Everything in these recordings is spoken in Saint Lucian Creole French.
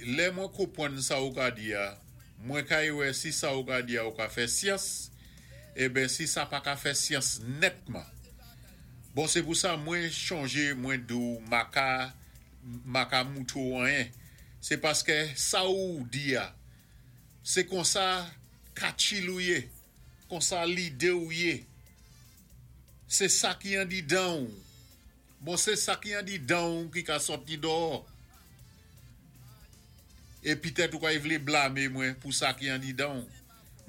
lè mwen konpwann sa ou ka di a, mwen kay wè si sa ou ka di a ou ka fè syans, eben si sa pa ka fè syans nètman. Bon se pou sa mwen chonje mwen di w ma ka ma ka moutre w anyen. Se paskè sa ou di a, se konsa katchil ou ye, konsa lide ou ye. Se sa ki andidan w. Bon se sa ki andidan w ki ka sòti dòò. E pitèt ou kay vle blame mwen pou sa ki andidan w.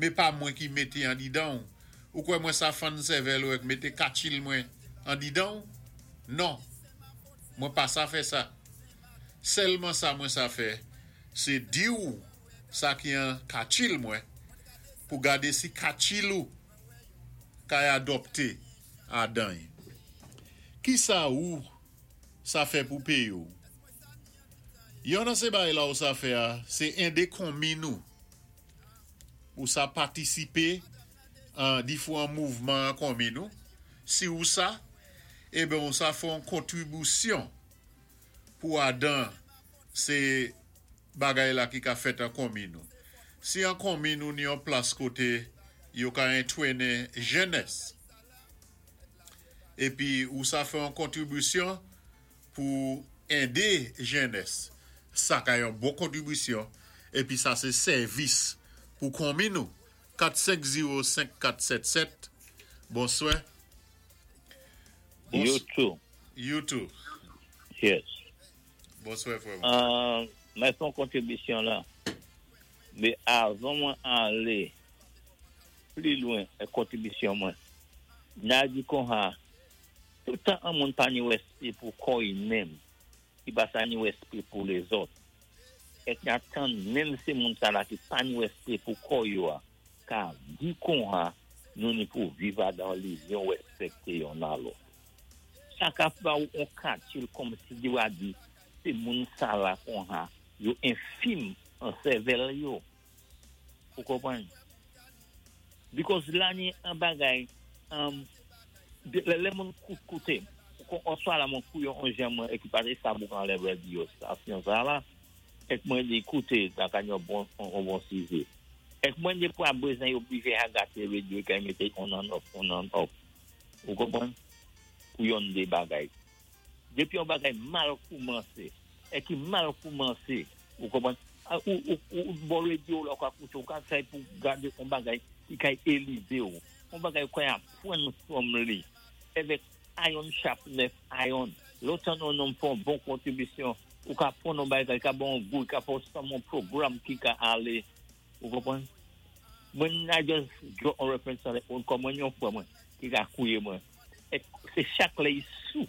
Me pa mwen ki mete andidan w. Ou kwè mwen sa fann sèvèl ou èk mete katchil mwen andidan w? Non. Mwen pa sa fè sa. Sèlman sa mwen sa fè, se di w sa ki an katchil mwen pou gade si katchil ou kay adòpte adan y. Kisa ou sa fè pou peyi w? Yon nan se bagay la ou sa fè a, se ende konmin ou. Ou sa patisipe an difwan mouvman an konmin ou. Si ou sa, eben ou sa fè yon kontribisyon pou adan se bagay la ki ka fèt an konmin ou. Si an konmin ou ni yon plas kote yo ka entwene jenès, epi ou sa fè yon kontribisyon pou ende jenès, sa ka yon bon kontribisyon, epi sa se sèvis pou konmin ou. 4 5 0 5 4 7 7 Bonswè. You too. You too. Yes. Bonswè frè mwen. Mwen fè yon kontribisyon la. Men avan mwen ale pli lwen ak kontribisyon mwen, na di konha, toutan an moun pa ni wèspé pou kò i menm, i pa sa ni wèspé pou lezòt. Èk na tann menm se moun sa la ki pa ni wèspé pou kò yo a ka di konha nou ni pou viv adan lizyon wèspèkté yonn a lòt. Sa ka ba ou on katil kòmsi di wa di se moun sa la konha yo enfim an sèvèl yo. Ou konprann? Because la ni an bagay um lè moun kout koute on swa la mwen kou yon on jan mwen ekipate sa pou anlè radio stasyon sa la ek mwen di koute la ka yon bon on bon sijè. Ek mwen di pou a bezwen yo oblije a gate radio kay mete on and off on and off. Ou konprann? Pou yon de bagay. Depi yon bagay mal koumanse, e ki mal koumanse, ou konprann, ou bò radio la ou ka koute, ou ka try pou gade yon bagay ki kay elive ou, yon bagay ou kay aprann from li. Evèk iron sharpeneth iron. Lè w tann yon nonm fè yon bon kontribisyon, ou ka aprann yon bagay, li ka ba w yon gou, li ka fè w sanm yon pwogram ki ka ale. Ou konprann? Mwen I just draw on reference on it kòm mwen yon frè mwen ki ka kouye mwen. E se chak lè i sou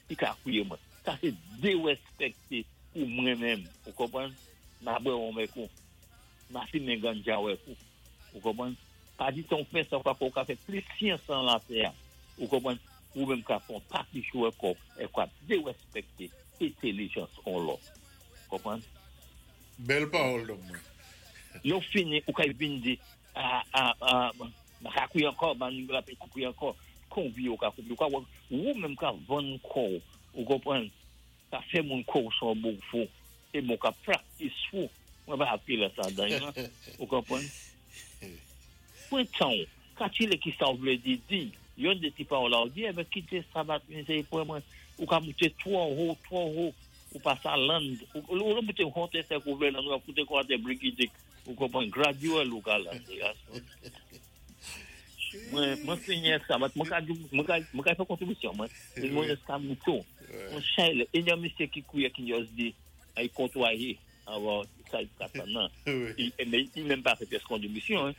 ki ka kouye mwen. Sa se derespekte pou mwen menm. Ou konprann? Ma bwè wonm ek ou. Ma fimen ganja wèk ou. Ou konprann? Pa di tan ou fè sa ou ka fè ou ka fè plis syans lan latè a. Ou konprann? Ou menm ka fè yon papichou ek ou ek wap derespekte entelijans on lòt. Konprann? Bèl pawòl nonm mwen. Lè w fini ou ka vin di ah ah ah m pa ka kouye ankò m pa ka kouye ankò konbyen ou ka kouye ou ka wè ou menm ka vann kò w ou konprann ka fè moun kwè w se yon bon fou e bon w ka practice fou mwen pa anpil sa dan nan ou konprann pran tan w kalkile kisa w vle di di yon de ti pawòl la ou di enben kite sa bat mizerikòd mwen ou ka moute twò wo twò wo. Ou pa sa land, ou lè moute hot e sèk ou vle land, ou ap koute kwa te brigidik, ou konprann, gradual ou ka land, gason. Mwen, mwen fini ak sa, but mwen ka di, mwen ka, mwen ka fè kontribisyon mwen, e mwen eska mouton, mwen chay lè, e yon misye ki kouye ki just di, ay kontwaye, avan sa li ka tann nan, e, men, li menm pa fè pyès kontribisyon,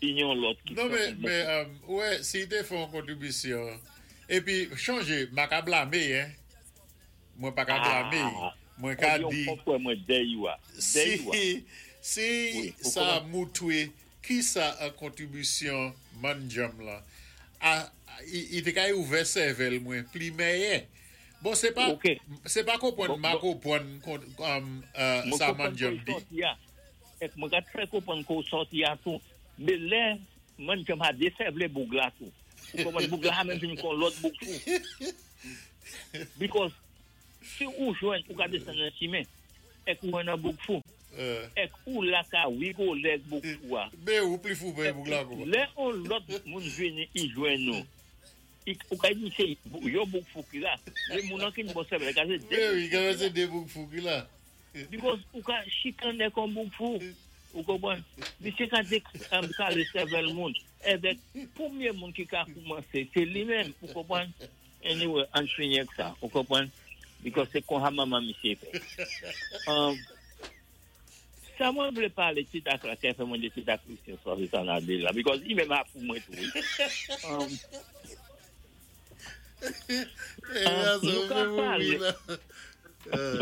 e yon lòt ki Non men, men, ou wè, si te fè yon kontribisyon, epi, chonje, ma ka blame, hein. Mwen pa ka blame y. Mwen ka di. Si si sa moutwe kisa an kontribisyon mannjanm lan a i te ka ouvè sèvèl mwen pli mèyè. Bon se pa se pa konprann ma konprann sa mannjanm di. Mwen ka trè konprann ke w sòti a tou. Men lè mannjanm a desèvle boug la tou. Ou konprann boug la a menm vin kon lòt boug tou. Because si ou jwenn ou ka desann nan chimen. Èk ou an nan bouk fou. Èk ou la ka wigolé èk bouk fou a. Bé ou pli fou pé bouk la kou. Lè on lòt moun vini i jwenn ou, ou ka di sé yon bouk fou ki la. Mé moun an ki ni bon sèvèl, li ka sé dé bouk fou ki la. Bé wi, ka sé dé bouk fou ki la. Because ou ka chikanné èk on bouk fou. Ou konpwann? Misyé ka kale sèvèl moun. Èbèk, pwémyé moun ki ka koumansé, sé li menm. Ou konpwann? Anyway, ann fini ak sa. Ou konprann? Because sé konsa manman misyé fè. Sa mwen vlé palé ti dak la kè fè mwen di ti dak Lucien swa sé sa na di la because i menm a pou mwen tou wi. Nou ka palé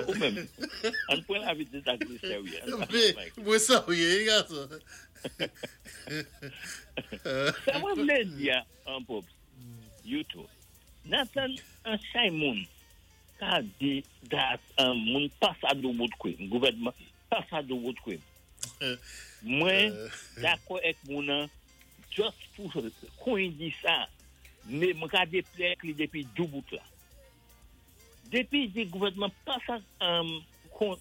ou menm. Ann pran lavi ti dak Lucien wi. Mwen sa ou yé wi gason. Sa mwen vlé di a Pops, You too. Nathan an chay moun ka di dat moun pa sa do bout kwim gouvènman pa sa do bout kwim mwen dakò ek moun an just pou kon di sa me mwen ka deple ek li depi dou bout la depi di gouvènman pa sa kon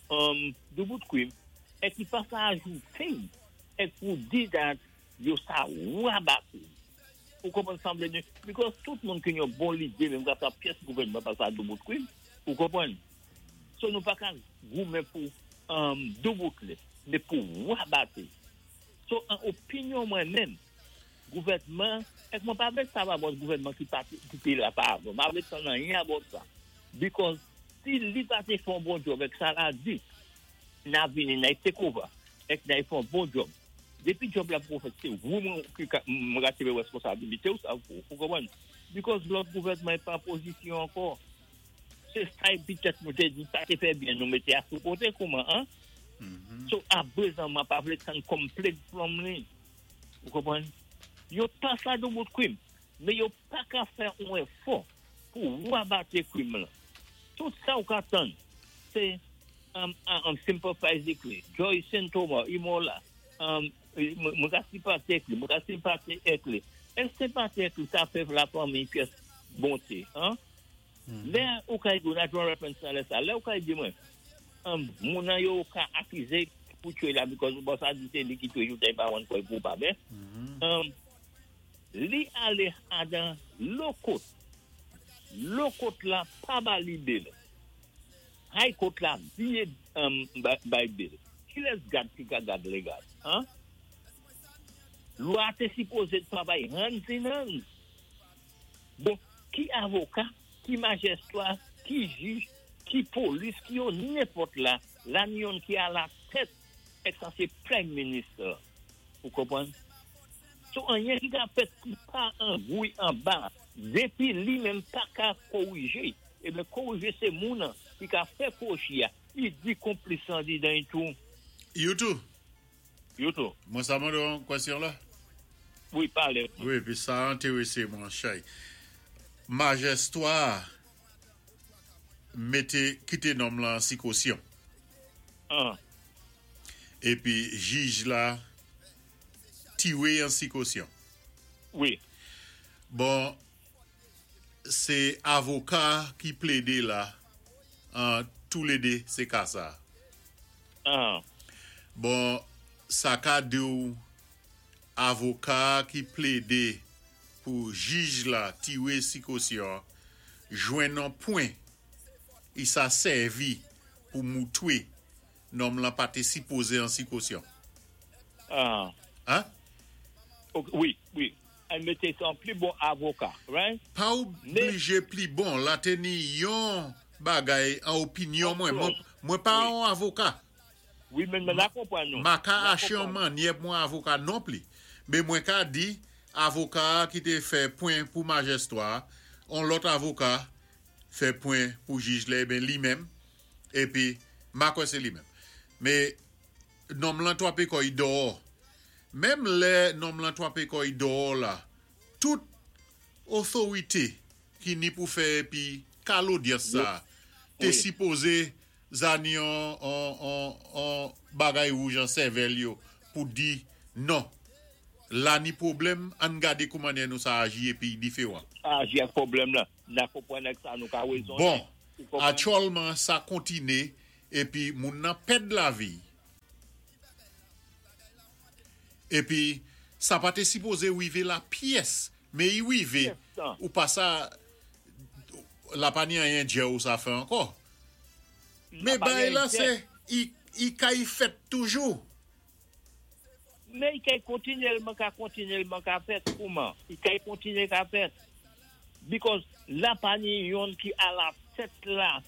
do bout kwim ek li pa sa ajoute ek pou di dat yo sa rabat li. Ou konprann sanblé nou because tout moun ki yon bon lidé menm ka sa pyès gouvènman pa sa doubout kwim ou konprann so nou pa ka goumen pou doubout li men pou rabate so an opinyon mwen menm gouvènman èk mwen pa vlé sa va bòt gouvènman ki pa ki té la pa avan mpa vlé tann anyen about sa because si li pa té fè yon bon djòb èk sa la di na vini nay take over èk nay fè yon bon djòb. Depi job la poko fèt se wou mwen ki ka mwen ka tire responsabilite ou sa ou konprann because lòt gouvènman pa an pozisyon ankò se sa epi tèt nou te di pa te fè byen nou mete a sou kote kouman an so aprezan mwen pa vle tann complaint from li ou konprann yo pa sa do bout krim men yo pa ka fè yon efò pou rabate krim lan tout sa ou ka tann se Sympathize ek li. Joyson Thomas, Imola, mwen ka simpati ek li, mwen ka simpati ek li. Èske simpati ek li sa fè la fanmi pyès bonté? Lè ou ka di, na draw reference nan lè sa, lè ou ka di mwen, moun nan yo ka akize pou tue la because ou sa di se li ki tue joutè pa wan koy pou pa ben. Li ale adan law court. Law court la pa ba li bail. High court la biye bay bail. Ki lès gad ki ka gad legal? Lwa te sipoze travay hands in hands. Bon, ki avoka, ki majistra, ki jij, ki polis, ki yo nenpòt la, la ni yon ki a la tèt, ek sa se prime minister. Ou konprann? So anyen ki ka fèt ki pa angouy an ba, depi li menm pa ka korije, e ben korije se moun ki ka fè kochi ya, i di konplis an di dan tou. You too. You too. Mwen sa mande yon kwestyon la? Wi, pale. Wi, pi sa enterese mwen chay. Majistra mete kite nonm lan si kosyon. E pi jij la tiwe an si kosyon. Wi. Bon, se avoka ki plede la an tou le de se ka sa. Bon, sa ka di ou avoka ki plede pou jij la tiwe si kosyon, jwenn an pwen, i sa servi pou moutwe nonm lan pa te sipoze an si kosyon. Hein? Wi. An mete son pli bon avoka, right? Pa oblije pli bon, la te ni yon bagay an opinyon mwen. Mwen pa an avoka. Wi, men mwen la konprann nou. Ma ka ache an manye mwen avoka non pli. Men mwen ka di, avoka ki te fè pwen pou majistra, on lòt avoka fè pwen pou jij la, ben li menm, epi, ma kwè se li menm. Men, nonm lan twape koy dò. Menm lè nonm lan twape koy dò la, tout otorite ki ni pou fè epi kal odyans sa, te sipoze zani an bagay wouj an sèvèl yo pou di non. La ni pwoblèm, an gade kouman nou sa aji epi diferan. Aji ak pwoblèm la, na konprann ak sa nou ka rezon. Bon, aktyèlman sa kontine. Épi moun nan pèd lavi. Épi sa pa té sipozé wivé la pyès, mé i wivé, ou pa sa la pa ni anyen djè ou sa fè ankò. Mé bagay la sé i kay fèt toujou. Mé i kay kontinyèlman ka kontinyèlman ka fèt kouman? I kay kontinyé ka fèt. Because la pa ni yonn ki a la tèt la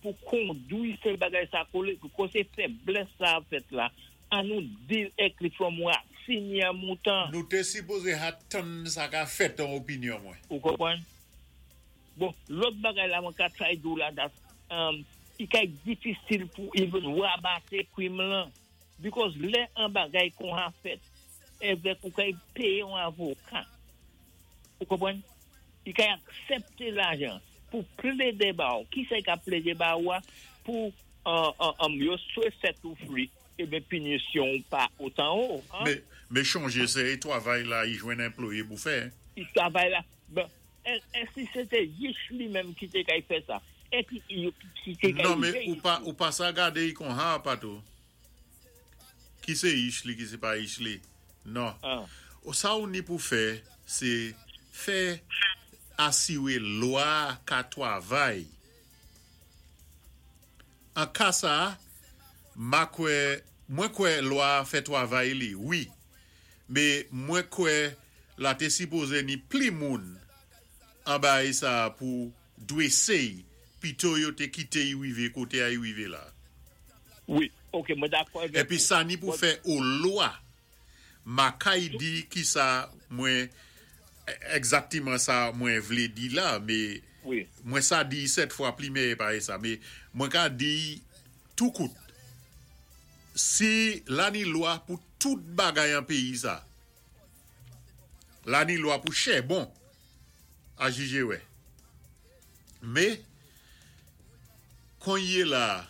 pou kondwi sé bagay sa kolé koté fèblès sa ap fèt la an nou deal èk li from rasin yan moutan. Nou té sipozé ha tann sa ka fèt an opinyon mwen. Ou konprann? Bon, lòt bagay la mwen ka try di w la dat i kay difisil pou even rabaté krim lan because lè an bagay konha fèt èvèk ou kay péyé yon avoka. Ou konprann? Li ka aksepte lajan pou plede ba ou. Ki sa li ka plede ba ou a? Pou yo swe set ou free, eben pinisyon ou pa otan wo. Men chonje se e twavay la i jwenn anploye pou fè. I twavay la. Bon, e si se te Yich li menm ki te kay fè sa? E ki ki te kay Non men ou pa sa gade i kon ha patou. Ki se ich li ki se pa ich li. Non. Sa ou ni pou fè, se fè asiwé lwa ka twavay. An ka sa, ma kwè, mwen kwè lwa fè twavay li, wi. Mé mwen kwè la té sipozé ni pli moun an bay sa pou dwésé pito yo té kité y wivé koté a y wivé la. Wi, ok, mwen dakò avèk Épi ou. Sa ni pou fè o lwa. Ma kay di ki sa mwen egzaktiman sa mwen vlé di la, mé mwen sa di sèt fwa pli méyè pa é sa, mé mwen ka di tou kout. Si la ni lwa pou tout bagay an péyi sa. La ni lwa pou chè bon a jijé wè. Mé konnye la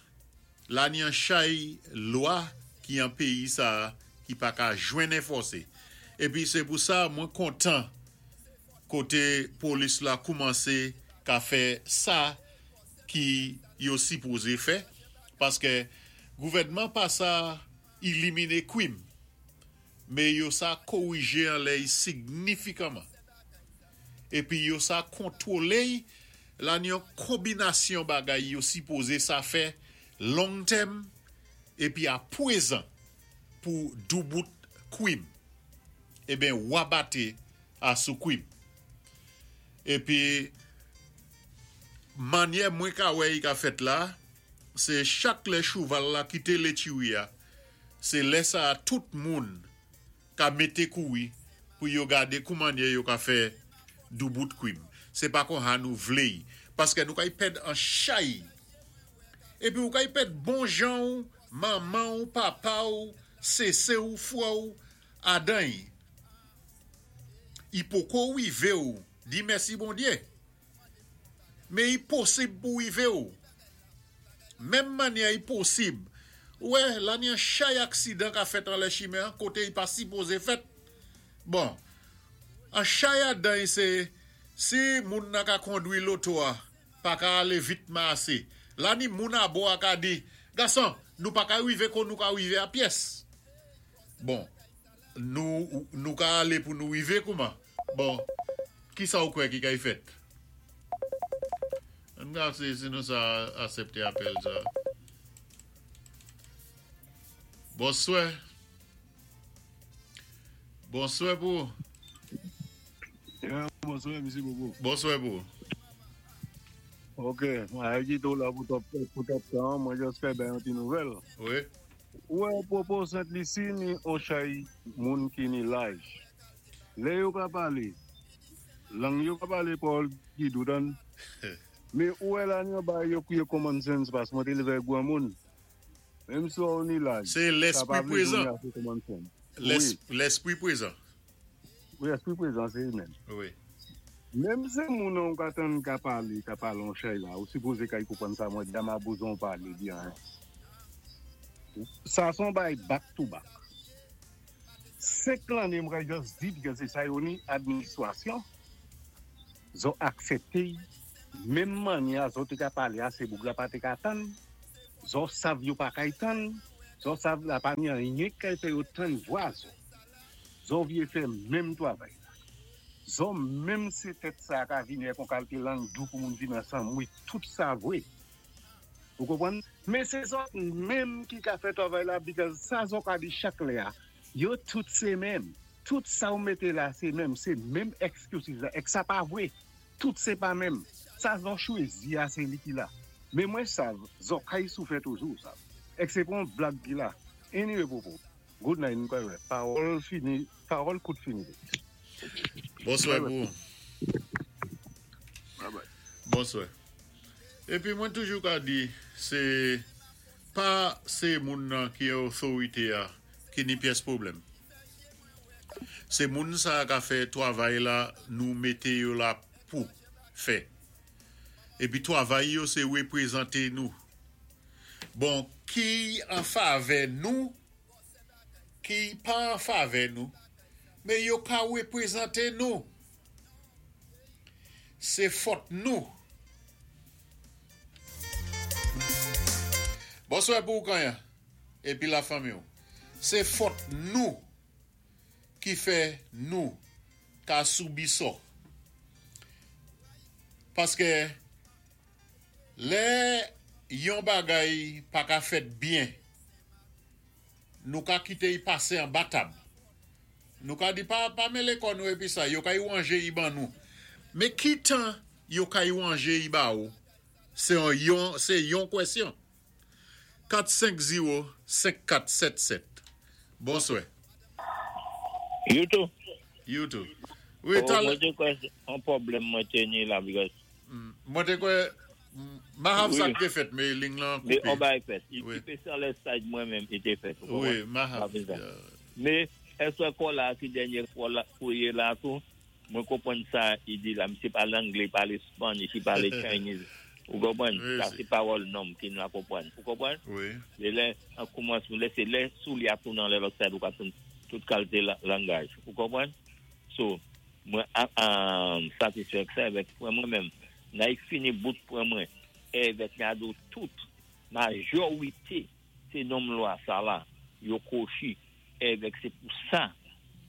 la ni an chay lwa ki an péyi sa ki pa ka jwenn enfòsé. Épi sé pou sa mwen kontan koté polis la koumansé ka fè sa ki yo sipozé fè paskè gouvèdman pa sa iliminé kwim mé yo sa korijé anlè y signifikanman. Épi yo sa kontwolé y la ni yon konbinasyon bagay yo sipoze sa fè long tèm épi a pwézan pou doubout kwim. Eben wabate a sou kwim. Épi manyè mwen ka wè i ka fèt la, sé chak lè chouval la kité létiwi a, sé lè sa a tout moun ka mété kouri pou yo gadé koumannyè yo ka fè doubout kwim. Sé pa konha nou vlé y, paskè nou kay pèd an chay. Épi ou kay pèd bon jan ou, manman ou, papa ou, sésé ou, fwè ou, adan y. I poko wivé ou di mèsi Bondyé. Men i posib pou wive ou. Menm mannyè i posib. Ou wè, la ni an chay aksidan ka fèt anlè chimen an koté i pa sipoze fèt. Bon, an chay adan i sé si moun nan ka kondwi loto a pa ka alé vitman asé. La ni moun abò a ka di, Gason, nou pa ka wive kon nou ka wive a pyès. Bon, nou nou ka alé pou nou wive kouman? Bon, kisa ou kwè ki kay fèt? Ann gase si nou sa asepte apèl sa. Bonswè. Bonswè pou ou. Bonswè, Msye Bobo. Bonswè pou ou. Ok, mwen a kite ou la pou twòp tan, mwen just fè bay yon ti nouvèl. Wi. Ou wè pwopo Sent Lisi ni on chay moun ki ni laj. Lè yo ka pale, lang yo ka pale pawòl gid ou tann. Men ou wè la ni yon bagay yo kriye common sense paske mwen te leve ak granmoun. Menm si ou ni laj, Se sa lespri pa vle di ou prezan. ni ase common sense. Wi. Lespri prezan. Wi, espri prezan se li menm. Wi. Menm se moun an ou ka tann ka pale, ka pale yon chay la, ou sipoze kay konprann sa mwen di a ma bezwen ou pale di anyen. Sa son bagay back to back. 5 lanne m kay just di because se sa yo ni administrasyon, zo aksepte y, menm manyè a zo te ka pale a se boug la pa te ka tann. Zò sav yo pa kay tann, zò sav la pa ni anyen k kay fè yo tann vwa zò. Zò vyé fè menm twavay la. Zò menm sé tèt sa ka vini ak on kalte lang dou pou moun vin ansanm wi tout sa vwé. Ou konprann? Men se zòt menm ki ka fè twavay la because sa zò ka di chak lè a, yo tout se menm. Tout sa ou mete la se menm, se menm excuses la ek sa pa vwe. Tout se pa menm. Sa zò chwezi a se li ki la. Men mwen sav zò kay soufè toujou sav. Ek se pa yon blag ki la. Anyway popo. Good night nou pral wè. Pawòl fini, pawòl kout fini. Bonswè pou ou. Bonswè. Epi mwen toujou ka di se pa se moun nan ki otorite a ki ni pyès pwoblèm. Se moun sa ka fè twavay la nou mete yo la pou fè. Epi twavay yo se reprezante nou. Bon ki an favè nou ki pa an favè nou men yo ka reprezante nou. Se fòt nou. Bonswè pou ou Kanyan epi la fanmi w. Se fòt nou ki fè nou ka soubi sò. Paske lè yon bagay pa ka fèt byen, nou ka kite y pase anba tab. Nou ka di pa pa mele kò nou epi sa, yo ka y wanje y ban nou. Men ki tan yo ka y wanje y ba ou, se yon se yon kwesyon. 4 5 0 5 4 7 7 Bonswè. You too. You too. Wi, oh, talè. Mwen té kwè on pwoblèm mwen té ni la because. Mwen té kwè Mahav sa k té fèt men ling lan koupe. Men on bagay fèt. I te san lè side mwen menm i te fèt. Wi, Mahav. Men èske kò la ki dènye kò la kourye la tou? Mwen konprann sa i di la. Misye pale angle, li pale Spanish, li pale Chinese. Ou konprann? Sa se pawòl nonm ki nou a konprann. Ou konprann? Wi. Se lè an koumansman, lè se lè soulye a tounen anlè lòt side ou ka tounen tout kalte langaj. Ou konprann? So, mwen satisfè ak sa evèk frè mwen menm. Nan i fini bout pwen mwen. Evèk Nyado tout majorite se nonm lwa sa la yo kwochi. Evèk se pou sa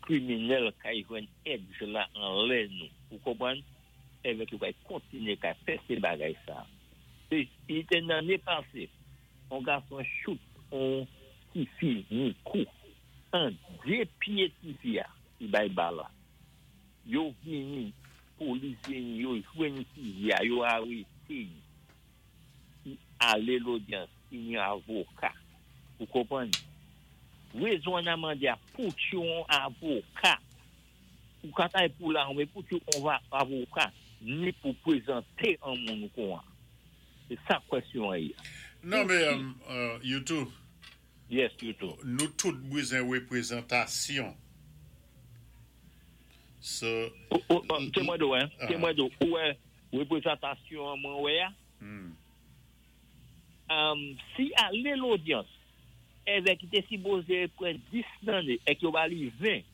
kriminèl kay jwenn èdj la anlè nou ou konprann evèk yo kay kontinye kay pèse bagay sa se li te nan ane pase on gason chout on tifi ni kou an de pye tifi a li bay bal la yo vini polis vini yo jwenn fizi a yo arete li. Ki ale lodyans ki ni avoka ou konprann rezon an a mande a pou tu on avoka ou ka tay pou la men pou tu on va avoka ni pou prezante an moun ou kon an se sa kwèsyon an ye. Non men you tou. Yes you tou. Nou tout bwzen reprezantasyon. So. Te mwen do hein. Te mwen do ou wè reprezantasyon an mwen wè a. Si ale lodyans evèk ki te sipoze pran 10 lanne ek yo ba li 20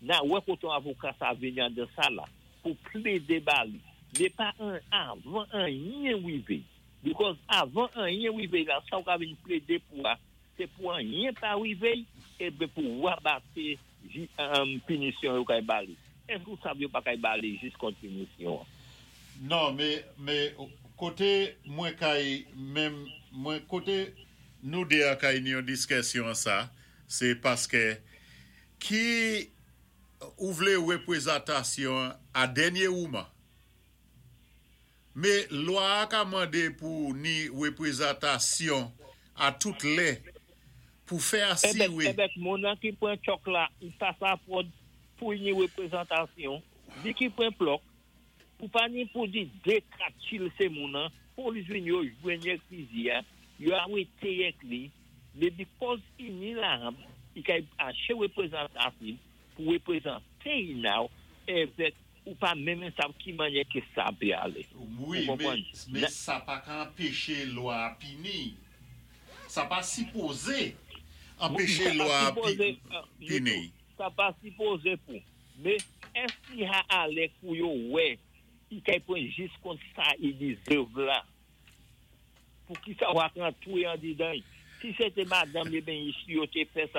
na wè kote yon avoka sa vini andan sal la pou plede ba li men pa avan anyen rive because avan anyen rive la sa ou ka vin plede pou a se pou anyen pa rive eben pou rabate pinisyon yo kay ba li. Èske ou sav yo pa kay ba li jis kont pinisyon an? Non me me kote mwen kay menm mwen kote nou 2 a kay ni yon diskèsyon an sa se paskè ki ou vle reprezatasyon a dènye wouman. Me lwa a ka mande pou ni reprezatasyon a tout lè pou fè asire. Ebèk moun nan ki pran chòk la li pa sa fòd pou ni reprezantasyon li ki pran plòk pou pa ni pou di de 4 chil se moun nan polis vini yo jwenn yèk fizi a yo arete yèk li me bikòz i ni laram i kay ache reprezantasyn pou reprezante i now evèk Ou pa menm sav ki manyè ke sa pe ale. Wi, men, men sa pa ka anpeche lwa a pini. Sa pa sipoze anpeche lwa a pini. Sa pa sipoze pou. Men, èske li ha ale pou yo wè i kay pran jis kont sa i deserve la? Pou ki sa ou ak rantwé andidan? Si sété madanm ébyen yo té fè sa.